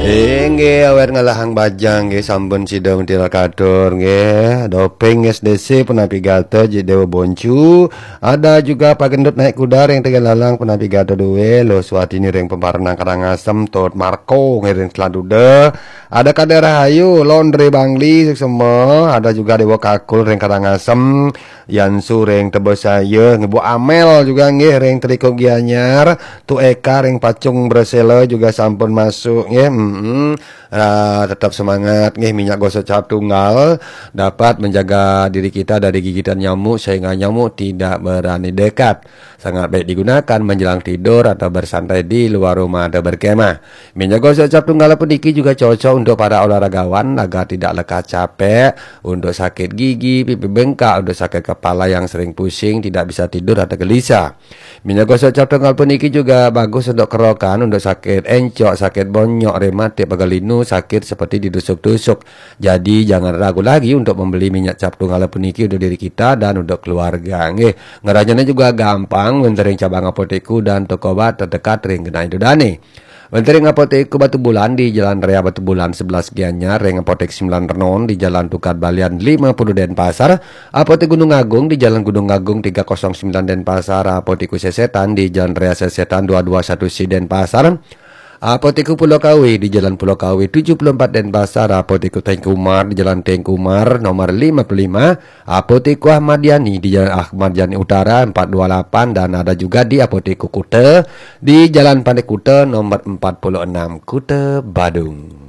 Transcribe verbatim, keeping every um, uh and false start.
Inggih, awet ngalahang bajang, nggih, sampun sida mentira katur, nggih. Doping S D C punapi gata, Jik Dewa Boncu. Ada juga Pak Gendut naik kuda ring Tegallalang punapi gata duwe, Luh Swatini ring Pemparenang Karangasem, Tut Marko nggih ring Selat Duda. Ada Kadek Rahayu, Laundry Bangli, suksema. Ada juga Dewa Kakul ring Karangasem, Yansu ring Tebesaya, nggih, Bu Amel juga, nggih, ring Telikup Gianyar, Tu Eka ring Pacung Bresela juga sampun masuk, nggih. Mm-mm. Ah, tetap semangat, nggih. Minyak gosok cap tunggal dapat menjaga diri kita dari gigitan nyamuk sehingga nyamuk tidak berani dekat. Sangat baik digunakan menjelang tidur atau bersantai di luar rumah atau berkemah. Minyak gosok cap tunggal puniki juga cocok untuk para olahragawan agar tidak lekas capek, untuk sakit gigi, pipi bengkak, untuk sakit kepala yang sering pusing, tidak bisa tidur atau gelisah. Minyak gosok cap tunggal puniki juga bagus untuk kerokan, untuk sakit encok, sakit bonyok, rematik, pegal linu, sakit seperti ditusuk-tusuk. Jadi jangan ragu lagi untuk membeli minyak cap tunggal puniki untuk diri kita dan untuk keluarga. Nggih, ngerajanya juga gampang, wenten ring cabang apotek dan toko obat terdekat ring genah ida dane. Wenten ring Apotek Batubulan di Jalan Raya Batubulan sebelas Gianyar, ring Apotek Sembilan Renon di Jalan Tukad Balian lima puluh Denpasar, Apotek Gunung Agung di Jalan Gunung Agung tiga kosong sembilan Denpasar, Apotek Sesetan di Jalan Raya Sesetan dua dua satu C Denpasar, Apotek Pulau Kawi di Jalan Pulau Kawi tujuh puluh empat Denpasar, Apotek Tengku Umar di Jalan Tengku Umar nomor lima puluh lima, Apotek Ahmad Yani di Jalan Ahmad Yani Utara empat dua lapan, dan ada juga di Apotek Kuta di Jalan Pantai Kuta nomor empat puluh enam, Kuta Badung.